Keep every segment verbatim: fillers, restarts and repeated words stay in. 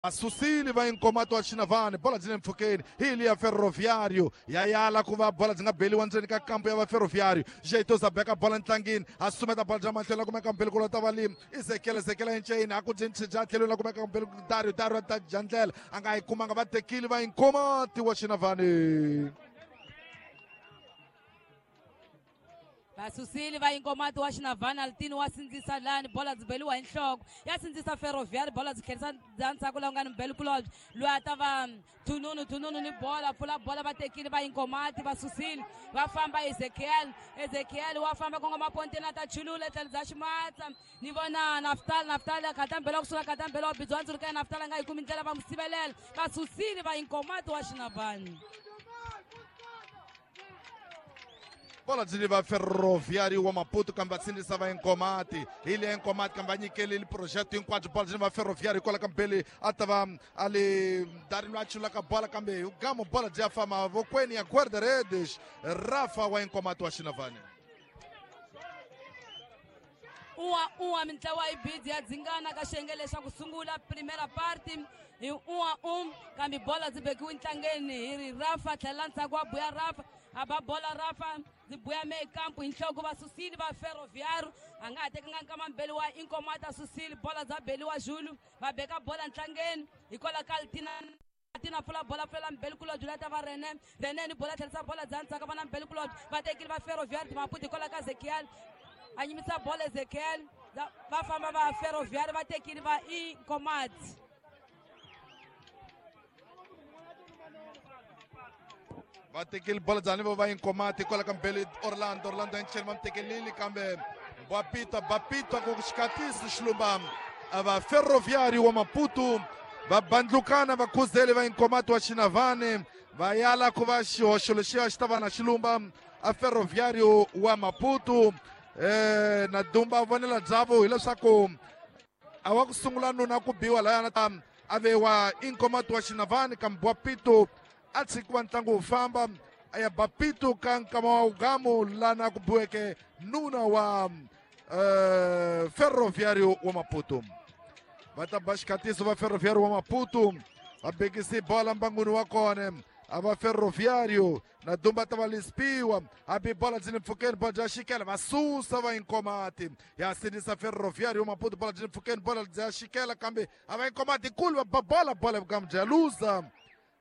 Vasusile va Inkomati wa Xinavane, bola byi le mpfhukeni hi liya Ferroviário ya yala ku va bola byi nga beliwa ndzeni ka kampu ya va Ferroviário. Jeitosa beka bola ntlangini, a sumeta bola bya mahlweni la kumeka mbeli ku lota valimi Ezekiel, Ezekiel enceni a ku byi bya tlhelweni la kumeka mbeli Dario, Dario ta dya ndlela a nga yi kumanga, va tekile va Inkomati wa Xinavane. Vasusile va Inkomati wa Xinavane, Altini wa sindzisa lani, bola byi beliwa hi nhloko ya sindzisa Ferroviário, bola byi tlherisa bya ndzhaku laha ku nga ni mbeli kulobye loyi a ta va Thununu, Thununu ni bola pfula bola, va tekile va Inkomati, va susile va famba Ezekiel, Ezekiel wa famba kongoma ponteni a ta chulula etlhelo bya ximatsa ni vona Naftal, Naftal a khata mbelo wa kusuka khata mbelo wa bidzi wa ndzuluka ya Naftal a nga yi kumi ndlela, va n'wi sivelela, va susile va Inkomati wa Xinavane. Bola byi va Ferroviário wa Maputo kambe va sindzisa va Inkomati, hi le Inkomati kambe va nyikeleli project hinkwabyo, bola byi va Ferroviário kwala ka mbeli a ta va a le Dario loyi a chulaka bola kambe hi gamo bola byi ya famba mavokweni ya guarda-redes Rafa wa Inkomati wa Xinavane. Un'wa un'wa mintlawa yi bidzi ya dzingana ka xiyenge lexa ku sungula primera parte hi un'wa um kambe bola byi bekiwe ntlangeni hi ri Rafa, tlhela ndzhaku wa buya Rafa, a ba bola Rafa byi buya mekampu hi nhloko, va susile va Ferroviário, a nga ha tekanga nkama mbeli wa Inkomati a susile bola bya beliwa Julu, va beka bola ntlangeni hikwalaho ka Altina, Tina pfula bola pfulela mbeli kulobye la ta va Rene, Rene ni bola tlherisa bola bya ndzhaku va na mbeli kulobye, va tekile va Ferroviário Maputo hikwalaho ka Ezekiel a nyimisa bola Ezekiel, va famba va Ferroviário va tekile va Inkomati. Va tekile bola bya ni va Inkomati kwala ka mbeli Orlando, Orlando enceni va mi tekelile kambe Bapita, Bapita ku xikatisi xilumba a va Ferroviário wa Maputo va bandlukana va khuzele va Inkomati wa Xinavane, va yala ku va xihoxo lexiya xi ta va na xilumba a Ferroviário wa Maputo. Eh, na dumba vonela byavo hileswaku a wa ku sungula nuna ku biwa laya ta a ve wa Inkomati wa Xinavane kambe Bapito a tshikiwa ntlangu wu famba a ya Bapito ka nkama wa ugamu lana ku biweke nuna wa eh, Ferroviário wa Maputo. Va ta ba xikhatiso va Ferroviário wa Maputo, va bekisi bola mbangwini wa kona a va Ferroviário na dumba ta va lispiwa hambi bola byi le mpfhukeni, bola bya xikela va susa va Inkomati ya sindzisa Ferroviário wa Maputo, bola byi le mpfhukeni, bola bya xikela kambe a va Inkomati kulu va ba bola, bola vugamu bya luza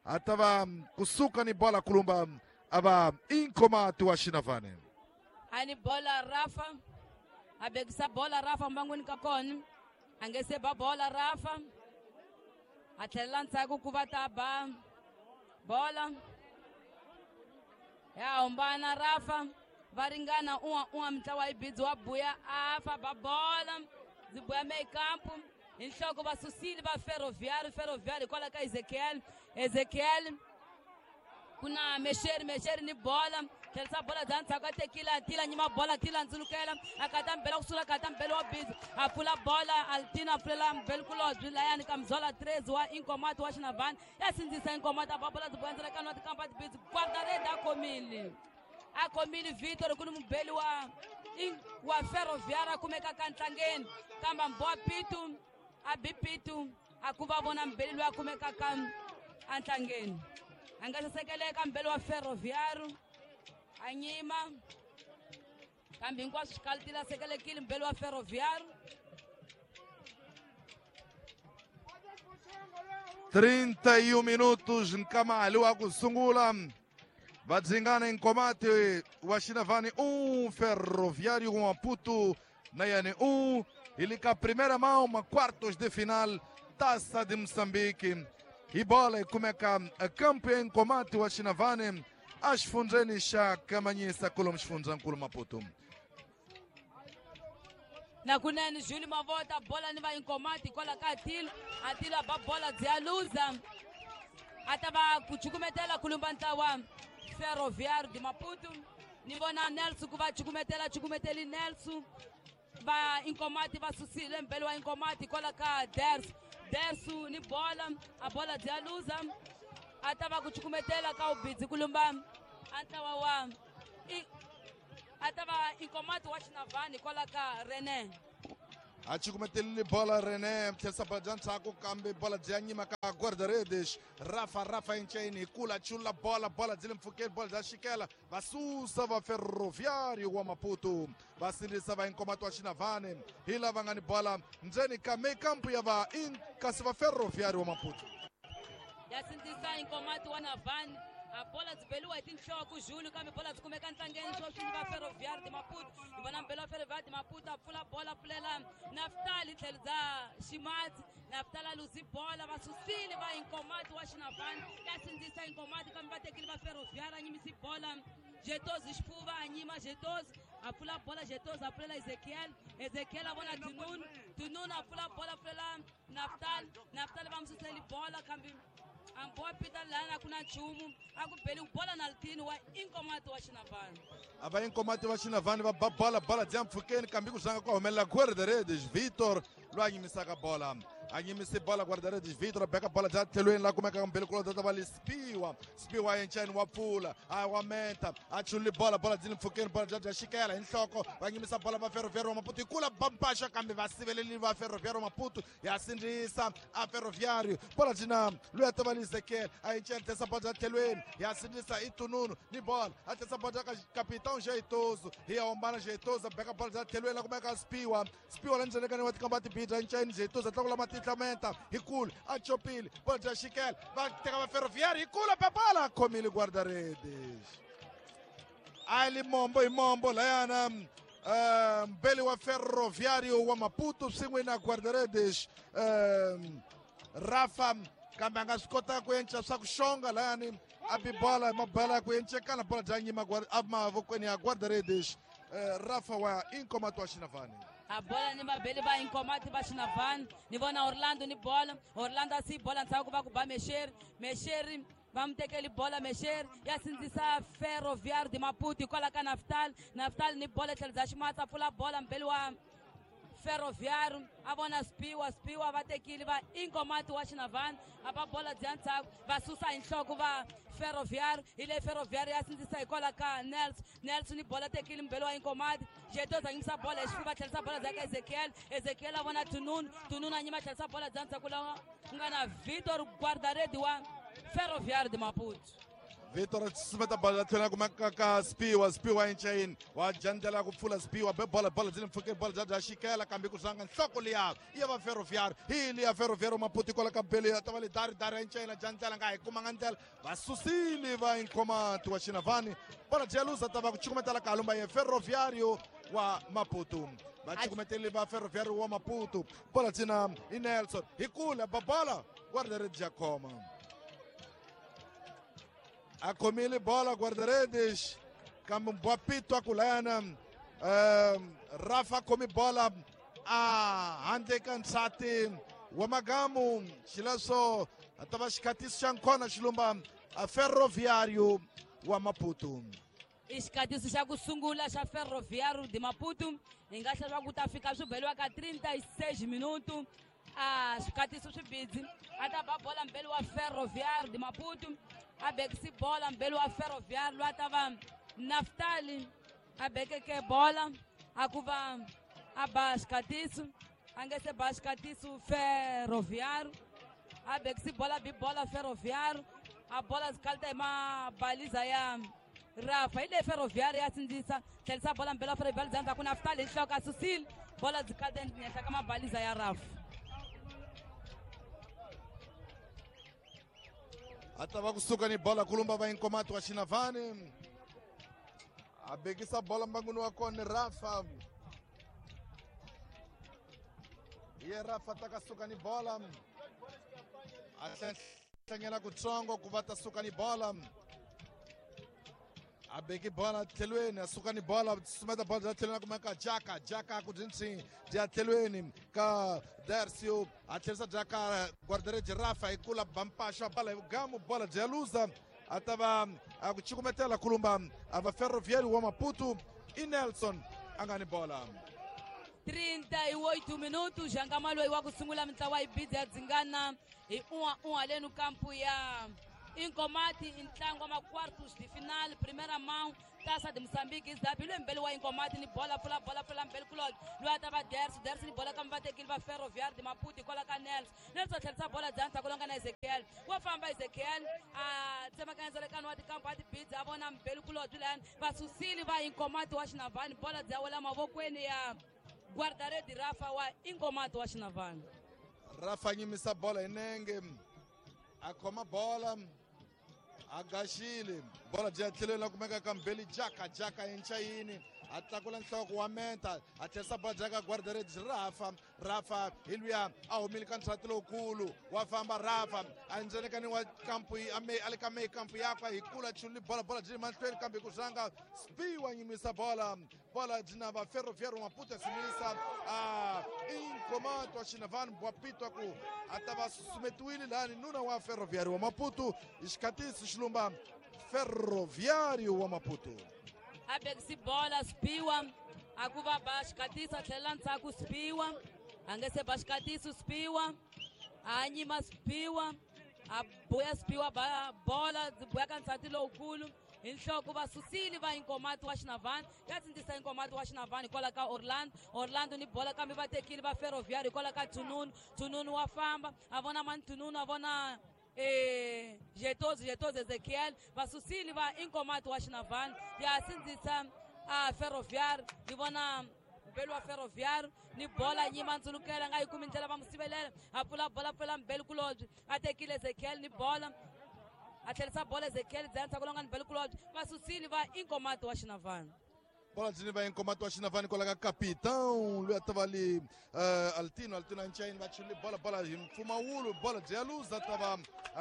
a ta va kusuka ni bola kulumba a va Inkomati wa Xinavane. A ni bola Rafa a bekisa bola Rafa mbangwini ka kona a nge se ba bola Rafa a tlhelela ndzhaku ku va ta ba bola ya humbana Rafa va ringana un'wa un'wa mintlawa yi bidzi wa buya afa ba bola byi buya mekampu hi nhloko, va susile va Ferroviário, Ferroviário hikwalaho ka Ezekiel, Ezekiel ku na Mexeri, Mexeri ni bola tlherisa bola bya ndzhaku a tekile a tila nyima bola tila ndzulukela a kata mbela kusula kata mbele wa bidzi a pfula bola Altina a pfulela mbeli kulobye layani ka Mzola Trez wa Inkomati wa Xinavane ya sindzisa Inkomati a ba bola byi buya ndzela ka nwa tikampa tibidzi guarda-rede a khomile a khomile Vitor ku ni mubeli wa wa Ferroviário a kumeka ka ntlangeni kambe Mbowa Pitu a bi Pitu a ku va vona mbeli loyi a kumekaka entlangeni a nga sasekeleka mbeli wa Ferroviário a nyima kambe hinkwaswo xikalitile a sekelekile mbeli wa Ferroviário. trinta e um minutos nkamali wa ku sungula va dzingana Inkomati wa Xinavane um, Ferroviário wa Maputo na yani um, e li ka primeira mão uma quartos de final Taça de Moçambique e bola e kumeka campeão Inkomati wa Xinavane axifundzeni xa Kamanyisa kulu xifundzankulu Maputo. Na kunene Júlio Mavota bola ni va Inkomati kwala ka Atilo, Atilo a ba bola byi ya luza a ta va ku cukumetela kulumba ntlawa Ferroviário de Maputo ni vona Nelson ku va cukumetela cukumeteli Nelson va Inkomati va susile mbele wa Inkomati kwala ka Dersu, Dersu ni bola a bola byi ya luza a ta va ku cukumetela ka ubidzi kulumba a ntlawa wa a ta va Inkomati wa Xinavane kwala ka Rene. A cukumetelile bola René tlherisa bola bya ndzhaku kambe bola bya nyima ka guarda-redes Rafa Rafa enceni hi kula chula bola bola byi le mpfhukeni bola bya xikela va susa va Ferroviário wa Maputo va sindzisa va Inkomati wa Xinavane hi lava nga ni bola ndzeni ka mekampu ya va in kasi va Ferroviário wa Maputo ya sindzisa Inkomati wa Navane a bola byi beliwa hi tinhloko Julu kambe bola byi kumeka ntlangeni sweswi va Ferroviário de Maputo hi vona mbelo wa Ferroviário de Maputo a pfula bola pfulela Naftali tlhelo bya Ximatsi Naftali a luzi bola va susile va Inkomati wa Xinavane ya sindzisa Inkomati kambe va tekile va Ferroviário a nyimisi bola Jetozi xifuva a nyima Jetozi a pfula bola Jetozi a pfulela Ezekiel Ezekiel a vona Tununu Tununu a pfula bola pfulela Naftali Naftali va mu suseli bola kambe amboa pita lana kuna nchumu a ku beli bola na litini wa Inkomati wa Xinavane a va Inkomati wa Xinavane va ba bola bola bya mpfhukeni kambe ku zanga ku humelela guarda-redes Vitor loyi a nyimisaka bola a nyimise bola guarda-redes Vitor a beka bola bya tlhelweni la kumekaka mbele kulo ta va le Spiwa Spiwa enceni wa pfula a wa menta a chulile bola bola byi le mpfhukeni bola bya bya xikela hi nhloko va nyimisa bola va Ferroviário wa Maputo hi kula bampaxa kambe va siveleli va Ferroviário wa Maputo ya sindzisa a Ferroviário bola byi na loyi a ta va le Ezekiel a enceni tlherisa bola bya tlhelweni ya sindzisa i Tununu ni bola a tlherisa bola bya ka Capitão Jeitoso hi ya hombana Jeitoso a beka bola bya tlhelweni la kumeka Spiwa Spiwa la ndzhenekani wa tikamba tibidra enceni Jeitoso a tlakula matihlamenta hi kula a chopile bola bya xikela va teka va Ferroviário hi kula papala a khomile guarda-redes a li mombo hi mombo layana um mbeli wa Ferroviário wa Maputo swin'we na guarda-redes um Rafa kambe a nga swi kota ku enca swa ku xonga layani a bi bola mabola ya ku encekana bola bya nyima emavokweni ya guarda-redes Rafa wa Inkomati wa Xinavane a bola ni mabeli va Inkomati va Xinavane ni vona Orlando ni bola Orlando a si bola ndzhaku va ku ba Mexeri Mexeri va mu tekeli bola Mexeri ya sindzisa Ferroviário de Maputo hikwalaho ka Naftali Naftali ni bola tlhelo bya Ximatsi a pfula bola mbeli wa Ferroviário a vona Spiwa Spiwa va tekile va Inkomati wa Xinavane a va bola bya ndzhaku va susa hi nhloko va Ferroviário hi leyi Ferroviário ya sindzisa hikwalaho ka Nelson Nelson ni bola tekile mbeli wa Inkomati Jetoza nyimisa bola hi xifuva tlherisa bola bya ka Ezekiel Ezekiel a vona Tununu Tununu a nyima tlherisa bola bya ndzhaku lawa ku nga na Vitor guarda-redes wa Ferroviário de Maputo Vitor a susumeta bola tlhela kumeka ka Spiwa Spiwa enceni wa jandlela ku pfula Spiwa be bola bola byi le mpfhukeni bola bya bya xikela kambe ku zanga nhloko liya ya va Ferroviário hi liya Ferroviário Maputo kwala ka bele ya ta va le dari dari enceni jandlela nga hi kumanga ndlela va susile va Inkomati wa Xinavane bola bya luza ta va ku cukumetela kalumba ya Ferroviário wa Maputo va cukumeteli va Ferroviário wa Maputo bola dzina i Nelson hi kula ba bola guarda-redes ya khoma a khomile bola guarda-redes kambe mbwapito a ku layana um Rafa khomi bola a handle ka nsati wa magamu xileswo a ta va xikhatiso xa nkhona xilumba a Ferroviário wa Maputo i xikatiso xa ku sungula xa Ferroviário de Maputo hi nga hlaya ku ta fika swi beliwa ka trinta e seis minuto a swikatiso swi bidzi a ta ba bola mbeli wa Ferroviário de Maputo a bekisi bola mbeli wa Ferroviário loyi a ta va Naftali a bekeke bola a ku va a ba xikatiso a nge se ba xikatiso Ferroviário a bekisi bola bi bola Ferroviário a bola zikalita hi mabaliza ya Rafa hi leyi Ferroviário ya sindzisa tlherisa bola mbeli wa Ferroviário bya ndzhaku Naftali hi nhloko a susile bola zikalita henhla ka mabaliza ya Rafa a ta va kusuka ni bola kulumba va Inkomati wa Xinavane a bekisa bola mbanguni wa kona Rafa ye Rafa ta ka suka ni bola a hlangela kutsongo ku va ta suka ni bola a beki bola tlhelweni a suka ni bola sumeta bola bya tlhelweni a kumeka Jaka Jaka ku dyintsini bya tlhelweni ka Dercio a tlherisa bya ka guarda-redes Rafa hi kula bampaxa bola hi vugamu bola bya luza a ta va a ku cukumetela kulumba a va Ferroviário wa Maputo i Nelson a nga ni bola trinta e oito minutos jangama loyi wa ku sungula mintlawa yi bidzi ya dzingana hi un'wa un'wa lenu kampu ya Inkomati i ntlangu wa ma-quartos de final primeira mão Taça de Moçambique Isabi loyi mbeli wa Inkomati ni bola pfula bola pfula mbeli kulobye loyi a ta va Dersi Dersi ni bola kambe va tekile va Ferroviário de Maputo hikwalaho ka Nelson Nelson a tlherisa bola bya ndzhaku lowu nga na Ezekiel wa famba Ezekiel a tsemakanya ndzalekano wa tikampu a tibidzi a vona mbeli kulobye layani va susile va Inkomati wa Xinavani bola bya wela mavokweni ya guarda-rede Rafa wa Inkomati wa Xinavani. Rafa nyimisa bola hi nenge a khoma bola a gaxile bola byi ya tlhelweni la kumeka ka mbeli jaka jaka yenchayini a tlakula nhloko wa menta a tlherisa bola jaka guarda-redes Rafa Rafa hi luya a humile ka ntlhati lowukulu wa famba Rafa a ndzenekani wa kampu a le ka meyi kampu yakwe hi kula chululi bola bola byi mahlweni kambe ku zanga Spi wa nyimisa bola bola byi na va Ferroviário Maputo ya sinisa a Inkomato wa Xinavani bwapitwa ku a ta va susumetiwile lani nuna wa Ferroviário wa Maputo hi xikhatisi xilumba Ferroviário wa Maputo. A bekisi bola Spiwa a ku va ba xikhatisi a tlhelela ndzhaku Spiwa a nge se ba xikhatisi Spiwa a nyima Spiwa a buya Spiwa ba bola byi buya ka ndzhati lowukulu hi nhloko va susile va Inkomati wa Xinavani ya tsindzisa Inkomati wa Xinavani hikwalaho ka Orlando Orlando ni bola kambe va tekile va Ferroviário hikwalaho ka Tununu Tununu wa famba a vona mani Tununu a vona eh Jetoz Jetoz Ezekiel va susile va Inkomati wa Xinavani ya sindzisa a Ferroviário ni vona mbeli wa Ferroviário ni bola nyima ndzulukela nga yi kumi ndlela va mu sivelela a pfula bola pfula mbeli kulobye a tekile Ezekiel ni bola a tlherisa bola Ezekiel bya ndzhaku longa ni mbeli kulobye va susile va Inkomati wa Xinavani. Bola byi va Inkomati wa Xinavani kwala ka capitão loyi a ta va li uh, Altino Altino Anchaini va chulile bola bola hi mpfumawulo bola byi ya luza ta va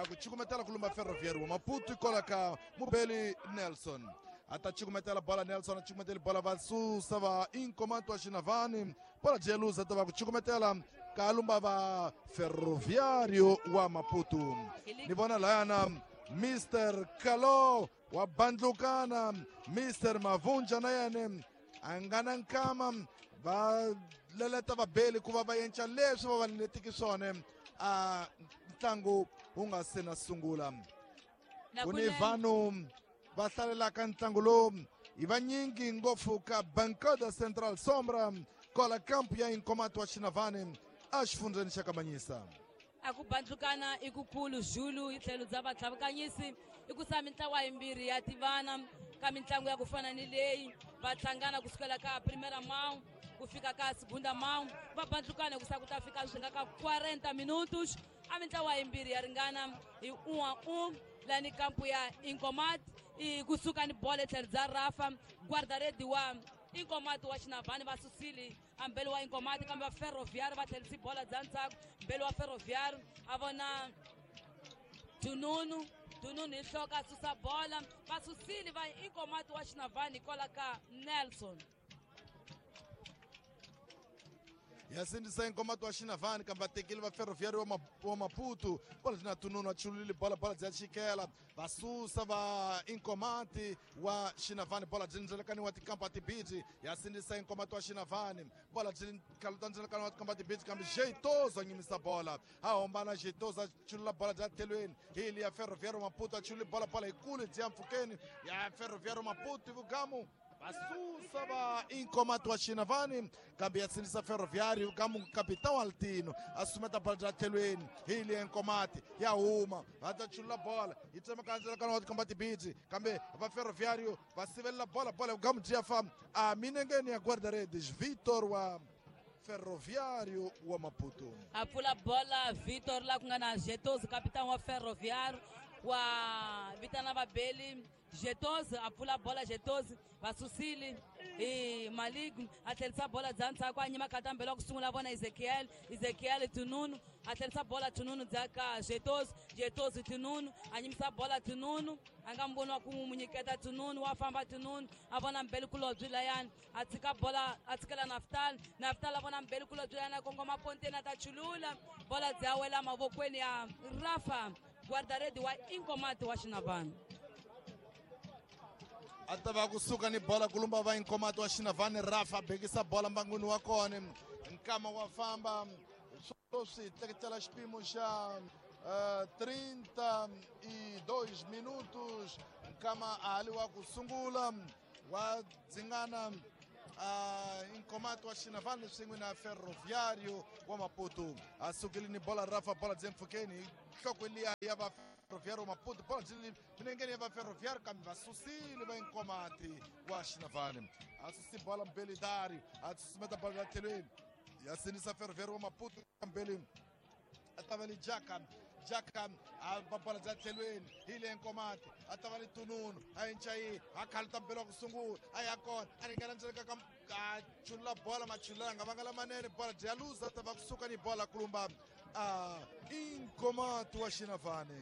ku cukumetela ku lumba Ferroviário wa Maputo kwala ka mubeli Nelson a ta cukumetela bola Nelson a cukumetela bola va susa va Inkomati wa Xinavani bola byi ya luza ta va ku cukumetela ka lumba va Ferroviário wa Maputo. Ni vona layana Mister Kalo wa bandlukana Mister Mavunja na yena a nga na nkama va leleta vabeli ku va va yenca leswi va va leletiki swona a ntlangu wu nga se na sungula. Ku ni vanhu va hlalelaka ntlangu lowu hi vanyingi ngopfu ka Bancada Central Sombra kwala kampu ya Inkomati wa Xinavani exifundzeni xa Kamanyisa. A ku bandlukana i kukulu Zulu hi tlhelo bya vatlhavukanyisi i ku sa mintlawa yimbirhi ya tivana ka mitlangu ya ku fana ni leyi va hlangana kusukela ka Primeira Mão ku fika ka Segunda Mão va bandlukana ku sa ku ta fika swi nga ka quarenta minutos a mintlawa yimbirhi ya ringana hi um a um lani kampu ya Inkomati i kusuka ni bola etlhelo bya Rafa guarda-rede wa Inkomati wa Xinavani va susile a mbeli wa Inkomati kambe va Ferroviário va tlherisi bola bya ndzhaku mbeli wa Ferroviário a vona Tununu Tununu hi nhloko a susa bola va susile va Inkomati wa Xinavani hikwalaho ka Nelson. Ya sindzisa Inkomati wa Xinavani kambe va tekile va Ferroviário wa Maputo bola byi na Tununu a chulile bola bola bya chikela va susa va Inkomati wa Xinavani bola byi ndzelekani wa tikampa tibidzi ya sindzisa Inkomati wa Xinavani bola byi kaluta ndzelekani wa tikampa tibidzi kambe Jeitozo a nyimisa bola a hombana Jeitozo a chulula bola bya tlhelweni hi li ya Ferroviário Maputo a chulile bola bola yikulu byi ya mpfhukeni ya Ferroviário Maputo vugamu va susa va Inkomati wa Xinavani kambe ya sindzisa Ferroviário ka capitão Altino a sumeta bola bya tlhelweni hi li Inkomati ya huma va ta chulula bola yi tsemaka ndzilakano wa tikomba tibidzi kambe va Ferroviário va sivelela bola bola gamu byi ya famba a minengeni ya guarda-redes Vitor wa Ferroviário wa Maputo. A pfula bola Vitor la ku nga na Jetoz capitão wa Ferroviário wa vitana vabeli Jetoz a pfula bola Jetoz va susile hi Malik a tlherisa bola bya ndzhaku a nyima khatambela wa ku sungula vona Ezekiel Ezekiel Tununu a tlherisa bola Tununu bya ka Jetoz Jetoz Tununu a nyimisa bola Tununu a nga mboni wa ku n'wi nyiketa Tununu wa famba Tununu a vona mbeli kulobye layani a tshika bola a tshikela Naftal Naftal a vona mbeli kulobye layani a kongoma ponteni a ta chulula bola bya wela mavokweni ya Rafa guarda-rede wa Inkomati wa Xinavani. A ta va kusuka ni bola kulumba va Inkomati wa Xinavani Rafa bekisa bola mbangwini wa kona nkama wa famba sweswi tleketela xipimo xa uh, trinta e dois minutos nkama a hali wa ku sungula Wa dzingana uh, Inkomati wa Xinavane swin'we na Ferroviário wa Maputo. A sukile ni bola Rafa, bola byi mpfhukeni nhloko liya ya va Ferroviário wa Maputo, bola byi milengeni ya va Ferroviário kambe va susile va Inkomati wa Xinavane. A susi bola mbeli Dario, a susumeta bola ya tlhelweni ya sinisa Ferroviário wa Maputo mbeli a ta va li Jaka. Jaka a ba bola bya tlhelweni hi le Nkomati a ta va li Tununu a encayi a khaluta mbelo wa ku sungula a ya kona a ringana ndzeni ka a chulula bola machulula nga vanga lamanene bola bya luza ta va kusuka ni bola kulumba a Inkomati wa Xinavane.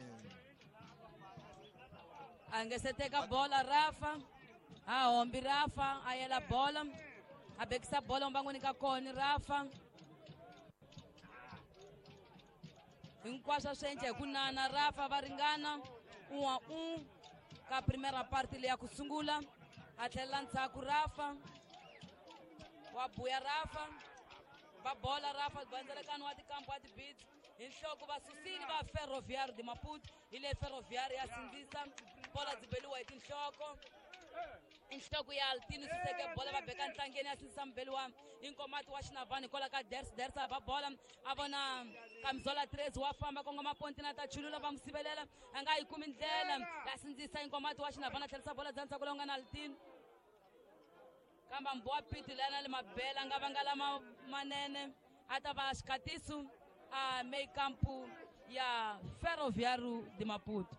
A nge se teka bola Rafa, a hombi Rafa a yela bola a bekisa bola mbangwini ka kona Rafa. Hinkwaswo swi endla hi ku nana Rafa va ringana un a un ka primera parte leyi ya ku sungula. A tlhelela ndzhaku Rafa, wa buya Rafa, va bola Rafa bandzelekano wa tikampu wa tibits hi nhloko va susile va Ferroviário de Maputo. Hi le Ferroviário ya sindzisa bola byi beliwa hi tinhloko, inhloko ya Altino suseke bola va beka ntlangeni ya sindzisa mbeli wa Inkomati wa Xinavane kwala ka Ders. Ders a ba bola a vona Kamizola Tres wa famba kongoma pontina ta chulula va n'wi sivelela a nga yi kumi ndlela ya sindzisa Inkomati wa Xinavane a tlherisa bola bya ndzhaku lowu nga na Altino kambe mbowa piti lana le mabela nga vanga lama manene a ta va xikatiso a meikampu ya Ferroviário de Maputo.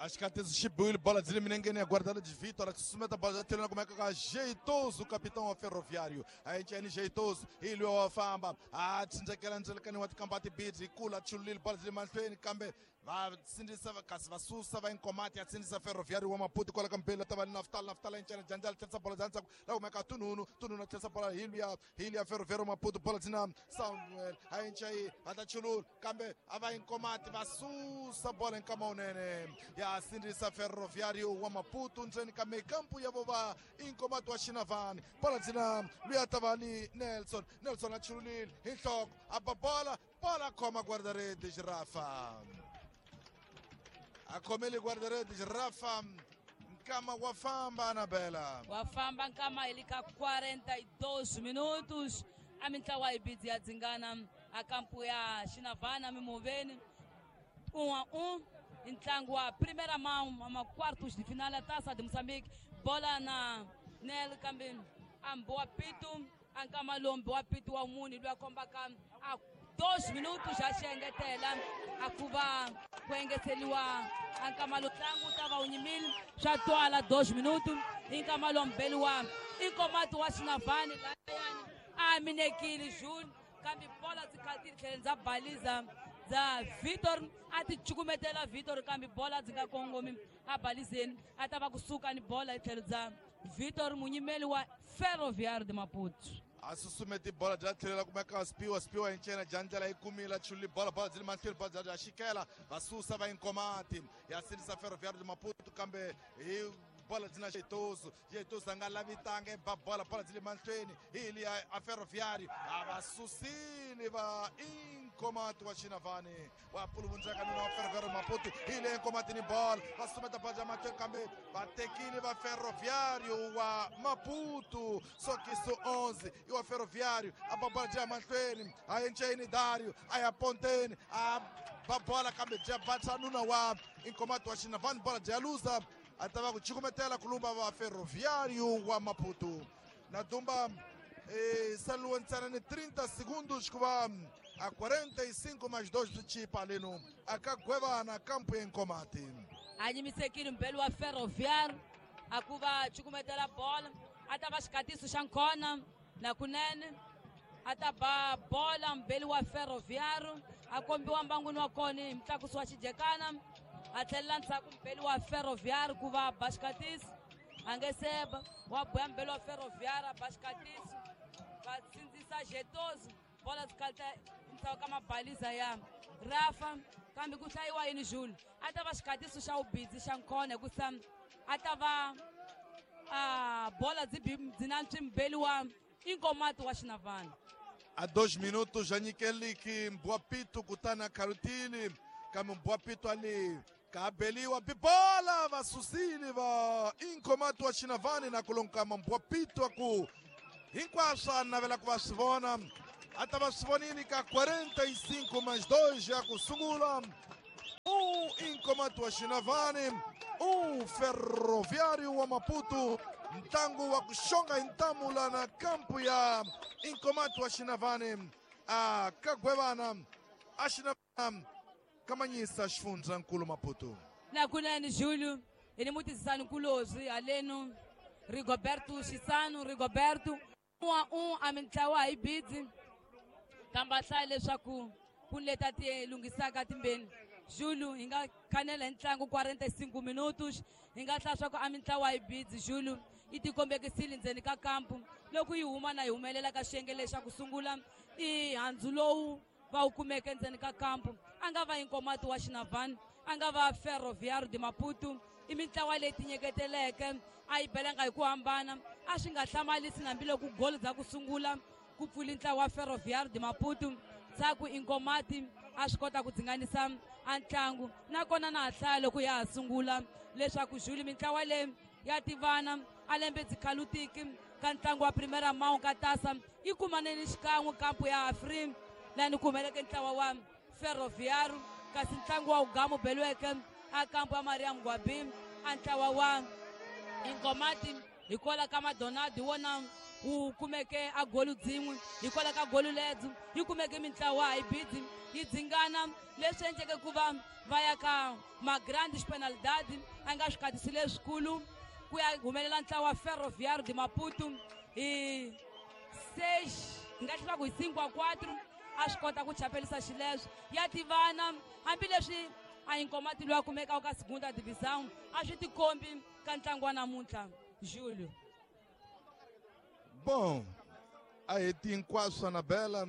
Acho que xi biwile bola byi le milengeni ya guardada de Vitor, a susumeta bola bya tlhelweni kumeka ka Jeitoso, capitão wa Ferroviário. A enceni Jeitoso hi loyi wa famba a tsindzekela ndzelekani wa tikamba tibidzi hi kula chululile bola byi le mahlweni kambe va sindzisa kasi va susa va Inkomati ya sindzisa Ferroviário wa Maputo kwala ka mbeli ta va ni Naftal. Naftal enceni Janjala tlherisa bola bya ndzhaku la kumeka Tununu. Tununu a tlherisa bola hi luya hi luya Ferroviário wa Maputo, bola byi na Samuel a encayi a ta chulula kambe a va Inkomati va susa bola hi nkama wunene ya sindzisa Ferroviário wa Maputo ndzeni ka mekampu ya vo va Inkomati wa Xinavane. Bola byi na luya ta va ni Nelson. Nelson a chululile hi nhloko a ba bola, bola khoma guarda-redes Rafa. A khomele guarda-redes Rafa, nkama wa famba Anabela. Wa famba nkama hi le ka quarenta e dois minutos a mintlawa yi bidzi ya dzingana a kampu ya Xinavane mimoveni um a um i ntlangu wa primeira mão ma quartos de final ya Taça de Moçambique. Bola na Nel kambe a mbowa pitu a nkama lowu mbowa pitu wa munhu loyi a kombaka a dois minutos a xi engetela a ku va ku engeteriwa a nkama lowu ntlangu wu ta va wu nyimile swa twala dois minutos i nkama lowu mbeli wa Inkomati wa Xinavane layani a minekile June kambe bola byi khatile tlheleni bya baliza bya Vitor a ti cukumetela Vitor kambe bola byi nga kongomi a balizeni a ta va kusuka ni bola hi tlhelo bya Vitor munyimeli wa Ferroviário de Maputo. A susumeti bola bya tlhelela kumeka Spiwa. Spiwa hi ncena Janjala yi kumile chululi bola, bola byi le mahlweni, bola bya xikela va susa va Inkomati ya sindzisa Ferroviário de Maputo kambe hi bola byi na Jeitoso. Jeitoso a nga lavi tanga ba bola, bola byi le mahlweni hi liya a Ferroviário a va susile va Inkomati wa Xinavane wa puluvundzeka nuna wa Ferroviário Maputo hi le Inkomati ni bola va susumeta bola bya mahlweni kambe va tekile va Ferroviário wa Maputo. Sokiso onze i wa Ferroviário a ba bola bya mahlweni a enceni Dario a ya ponteni a ba bola kambe bya batsa nuna wa Inkomati wa Xinavane bola bya luza a ta va ku cukumetela kulumba va Ferroviário wa Maputo. Na dumba eh, saliwa ntsena ni trinta segundos ku va a quarenta e cinco mais dois byi chipa leno a ka gwevana kampu ya Inkomati. A nyimisekile mbeli wa Ferroviário a ku va cukumetela bola a ta va xikatiso xa nkona na kunene a ta ba bola mbeli wa Ferroviário a kombiwa mbangwini wa kona hi mutlakusi wa xijekana a tlhelela ndzhaku mbeli wa Ferroviário ku va ba xikatiso a nge seba wa boya mbeli wa Ferroviário a ba xikatiso va sindzisa Jetoso bola byi kalita ndzhaku ka mabaliza ya Rafa kambe ku hlayiwa yini Jules a ta va xikatiso xa vubindzi xa nkona hikusa a ta va a bola byi byi na mbeli wa Inkomati wa Xinavane. A dois minutos já nyikeliki Mbwapito kutani a khalutile kambe Mbwapito ali Kabeliwa bibola vasusile va Inkomati wa Xinavane na kulonkama mbwapitwa ku hinkwaswo a navela ku va swi vona a ta va swi vonile ka quarenta e cinco mais dois ya ku sungula. Um Inkomati wa Xinavane, um Ferroviário wa Maputo. Ntlangu wa ku xonga hi ntamu la na kampu ya Inkomati wa Xinavane a kagwevana a Xinavana kamanyisa xifundzankulu Maputo. Na kunene Júlio hi ni mutisisani nkulozwi haleno Rigoberto Xisano Rigoberto um a um a mintlawa hi bidzi kambe a hlaya leswaku ku ni leti ti lunghisaka timbeni. Júlio hi nga khanela hi ntlangu quarenta e cinco minutos hi nga hlaya swa ku a mintlawa hi bidzi. Júlio yi tikombekisile ndzeni ka kampu loko yi huma na yi humelela ka xiyenge lexa ku sungula i handzu lowu va wu kumeke ndzeni ka kampu. A nga va Inkomati wa Xinavane, a nga va Ferroviário de Maputo, i mintlawa leyi tinyeketeleke a yi belanga hi ku hambana. A swi nga hlamarisi hambiloko goli dza ku sungula ku pfuli ntlawa wa Ferroviário de Maputo ndzhaku Inkomati a swi kota ku dzinganisa a ntlangu. Nakona na ha hlaya loko ya ha sungula leswaku Júlio mintlawa leyi ya tivana a lembe dzikhalutiki ka ntlangu wa Primeira Mão ka tasa yi kumaneni xikan'we kampu ya Afri lani ku humeleke ntlawa wa Ferroviário, kasi ntlangu wa Ugamu beliweke a kampu ya Maria Mgwabi a ntlawa wa Inkomati hikwalaho ka Madonaldo wona wu kumeke a golu dzin'we hikwalaho ka golu lebyi yi kumeke mintlawa hi bidzi yi dzingana leswi endleke ku va va ya ka ma-grandes penalidade a nga swikhatisi leswikulu ku ya humelela ntlawa wa Ferroviário de Maputo hi seis hi nga hlula ku hi cinco a quatro a swi kota ku chapelisa xileswo. Ya tivana hambileswi a Inkomati loyi a kumekaka ka segunda divisão a swi tikombi ka ntlangu wa namuntlha Júlio. Bom, a heti hinkwaswo Anabela.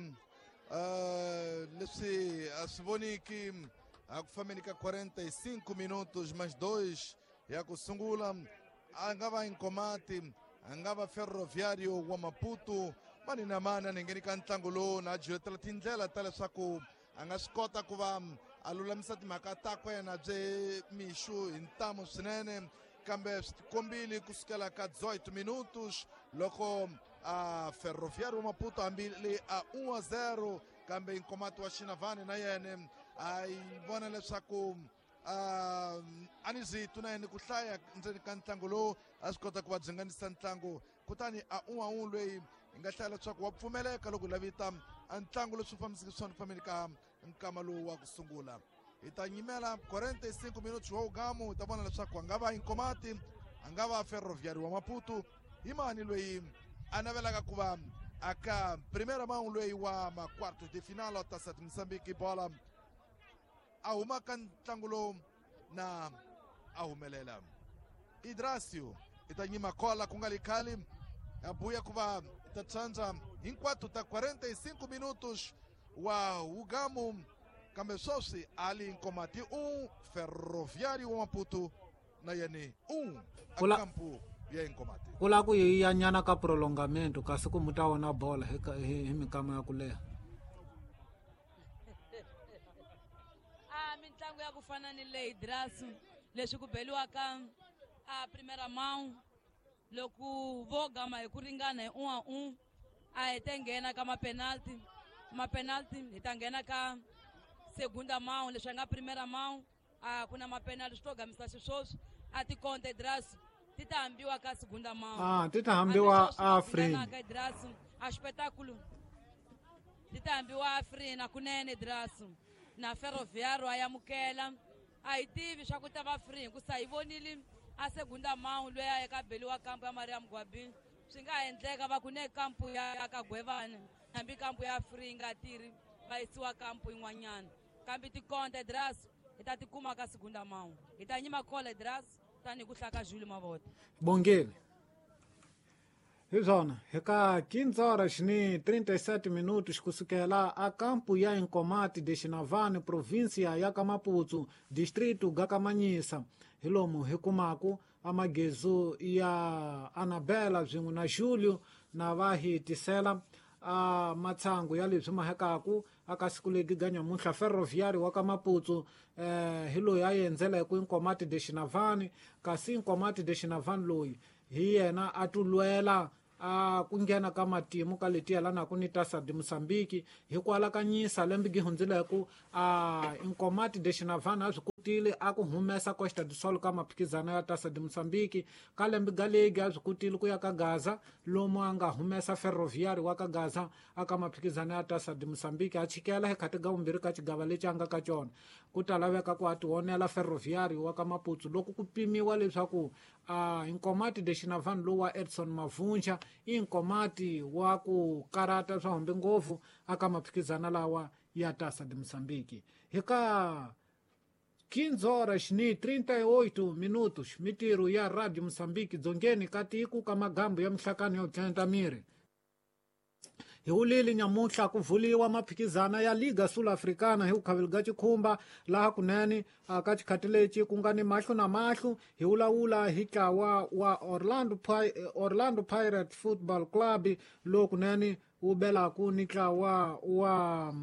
Uh, leswi a swi voniki a ku fambeni ka quarenta e cinco minutos mais dois ya ku sungula a nga va Inkomati, a nga va Ferroviário wa Maputo mani na mani a ngheni ka ntlangu lowu na jihetela tindlela ta leswaku a nga swi kota ku va a lulamisa timhaka takwe yena bye mixu hi ntamu swinene kambe swi tikombile kusukela ka dezoito minutos loko a Ferroviário wa Maputo hambile a um a zero kambe Inkomati wa Xinavane na yena a yi vona leswaku a ni zitu na yena ku hlaya ndzeni ka ntlangu lowu a swi kota ku va dzinganisa ntlangu kutani a um a um loyi hi nga hlaya leswaku wa pfumeleka loko lavita a ntlangu leswi fambiseke swona fambeni ka nkama lowu wa ku sungula. Hi ta nyimela quarenta e cinco minutos wa Ugamu hi ta vona leswaku a nga va Inkomati, a nga va Ferroviário wa Maputo hi mani loyi a navelaka ku va aka primeira mão loyi wa ma quartos de final Taça de Moçambique bola a huma ka ntlangu lowu na a humelela. Idracio i ta nyima kola ku nga li khale a buya ku va ta tsandza hinkwato ta quarenta e cinco minutos wa Ugamu kambe sweswi ali Inkomati um Ferroviário wa Maputo na yena um a kampu ya Inkomati. Ku lava ku yi ya nyana ka prolongamento kasi ku mu ta vona bola hi hi minkama ya ku leha. A mitlangu ya ku fana ni leyi Drasu leswi ku beliwaka a Primeira Mão loko vo gama hi ku ringana hi um a um a hi ta nghena ka ma-penalty ma-penalty hi ta nghena ka segunda mão leswi nga Primeira Mão a ku na ma-penalty swi to gamisa xiswoswi a tikonte Drasu ti ta hambiwa ka segunda mão. Ah, ti ta hambiwa Afrin. Drasu a espetáculo ti ta hambiwa Afrin kunene Drasu na Ferroviário a yamukela a hi tivi swa ku ta va free hikusa hi vonile a segunda mão loyi a eka beliwa kampu ya Maria Mgwabi swi nga endleka va ku ne kampu ya ka Gwevane hambi kampu ya free yi nga tirhi va yisiwa kampu yin'wanyana kambe tikonte Drasu hi ta tikuma ka segunda mão hi ta nyima kola Drasu tanihi ku hlaka Júlio Mavota. Bongile hi swona hi ka quinze horas ni trinta e sete minutos kusukela a kampu ya Inkomati de Xinavane província ya ka Maputo distrito ga Kamanyisa hi lomu hi kumaku amagezu ya Anabela swin'we na Júlio na va hi tisela a matsangu ya leswi mahekaku aka siku legi ga nyamuntlha Ferroviário wa ka Maputo eh hi loyi a endzeleke Nkomati de Xinavani kasi Nkomati de Xinavani loyi hi yena a tulwela a ku nghena ka matimu ka leti yelanaka ni Taça de Moçambique hi ku alakanyisa lembe gi hundzileke a Nkomati de Xinavani a swi kotile a ku humesa Costa do Sol ka maphikizano ya Taça de Moçambique ka lembe ga legi a swi kotile ku ya ka Gaza lomu a nga humesa Ferroviário wa ka Gaza aka maphikizano ya Taça de Moçambique a chikela hi khati ga vumbirhi ka xigava lexi a nga ka xona ku ta laveka ku a tionela Ferroviário wa ka Maputo loko ku pimiwa leswaku a Nkomati de Xinavani lowu wa Edson Mavunja i Nkomati wa ku karata swa hombe ngopfu aka maphikizano lawa ya Taça de Moçambique hi ka quinze horas ni trinta e oito minutos mitiro ya Radio Moçambique dzongeni ka tiko ka magambo ya mihlakano yo tlenta miri hi wulile nyamuntlha ku vuliwa maphikizana ya Liga Sul-Africana hi vukhaveli ga xikhumba laha kunene ka xikhati lexi ku nga ni mahlo na mahlo hi wulawula hi ntlawa wa Orlando, Orlando Pirates Football Club lowu kunene wu belaku ni ntlawa wa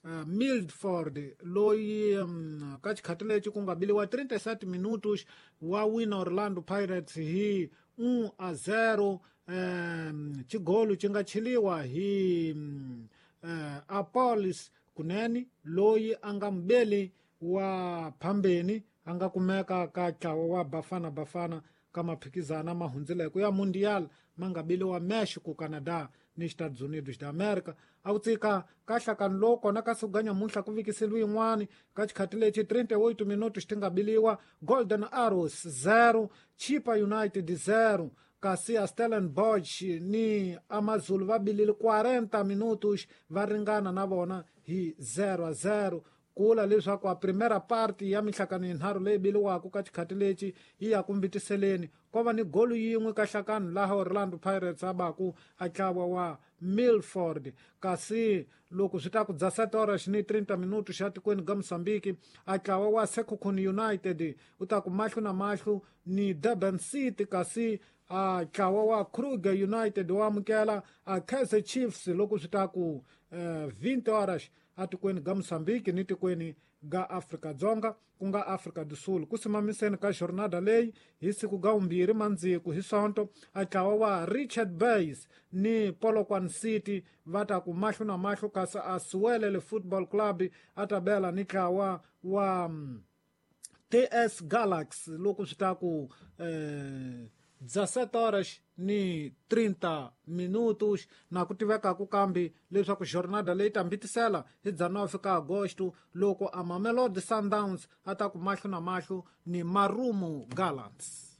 Uh, Milford loyi um, ka xikhati lexi ku nga biliwa trinta e sete minutos wa wina Orlando Pirates hi um a zero um, xigolo xi nga cheliwa hi um, uh, Apolis kunene loyi a nga mubeli wa phambeni a nga kumeka ka ntlawa wa Bafana Bafana ka maphikizana ma hundzileke ya Mundial ma nga biliwa Mexico, Canada ni Estados Unidos da América a ku tsika ka hlakani lowu kona ka siku ga nyamuntlha ku vikiseliwe yin'wani ka xikhati lexi trinta e oito minutos ti nga biliwa Golden Arrows zero Chipa United zero kasi a Stellenbosch ni Amazulu va bilile quarenta minutos va ringana na vona hi zero a zero kula leswaku a primera parte ya mihlakano yinharhu leyi biliwaka ka xikhati lexi yi ya ku mbitiseleni ko va ni golu yin'we ka hlakano laha Orlando Pirates a baku a ntlawa wa Milford kasi loko swi ta ku dezessete horas ni trinta minutos xa tikweni ga Moçambique a ntlawa wa Sekhukhune United u ta ku mahlo na mahlo ni Durban City kasi a ntlawa wa Kruger United wa amukela a Kaizer Chiefs loko swi ta ku eh, vinte horas atikweni ga Moçambique ni tikweni ga Afrika Dzonga ku nga Afrika do Sul ku simamiseni ka jornada leyi hi siku ga vumbirhi mandziku hi sonto a ntlawa wa Richard Bays ni Polokwane City va ta ku mahlo na mahlo kasi a Siwelele Football Club a ta bela ni ntlawa wa T S Galaxy loko swi ta ku eh, dezessete horas ni trinta minutos na ku tivekaku kambe leswaku jornada leyi ta mbitisela hi dezenove ka agosto loko a Mamelodi Sundowns a ta ku mahlo na mahlo ni Marumo Gallants.